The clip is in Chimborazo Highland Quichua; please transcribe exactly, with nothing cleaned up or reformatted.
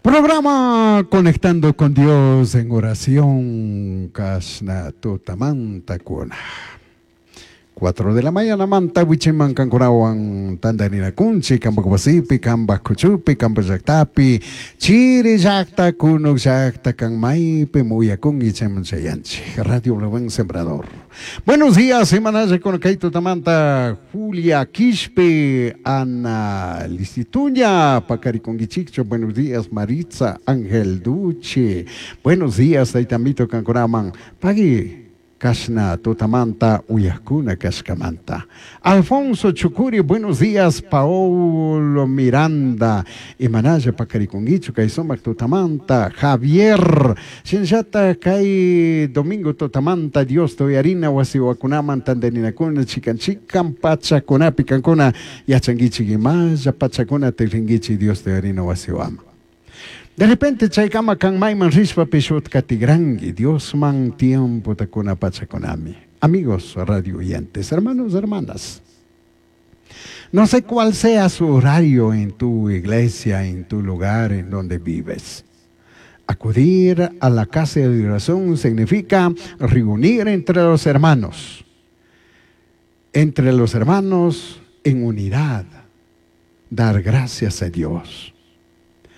Programa Conectando con Dios en oración, Kashna Tutamanta Kuna. Cuatro de la mañana manta wichiman kankunawan tantarinakunchik kampak wasipi kampak kuchupi kampak llaktapi chiri llakta kunuk llakta kan maypi muyakunki chayman chayanchik Radio Buen Sembrador. Buenos días, semana con kay tutamanta Julia Quispe, Ana Listituña, Pacariconguichicho, buenos días Maritza Ángel Duche, buenos días Taitamito Kankunaman, Pagui Kashna Tutamanta Uyakuna Kashkamanta. Alfonso Chucuri, buenos días. Paolo Miranda, Imanaya Pacariconguicho, Kaisomac Tutamanta, Javier, Shinshata Kai Domingo Tutamanta, Dios Toyarina, Wasiwakunaman, Tandeninakuna, Chican Chican, Pachakuna, Picancuna, Yachanguichi Gimaya, Pachakuna, Telinguichi, Dios Toyarina, Wasiwama. De repente chaykama kan mayman rishpa pishutka tigrangi, Dios man tiempo takuna pachakunami. Amigos radio oyentes, hermanos, hermanas. No sé cuál sea su horario en tu iglesia, en tu lugar en donde vives. Acudir a la casa de oración significa reunir entre los hermanos. Entre los hermanos en unidad. Dar gracias a Dios.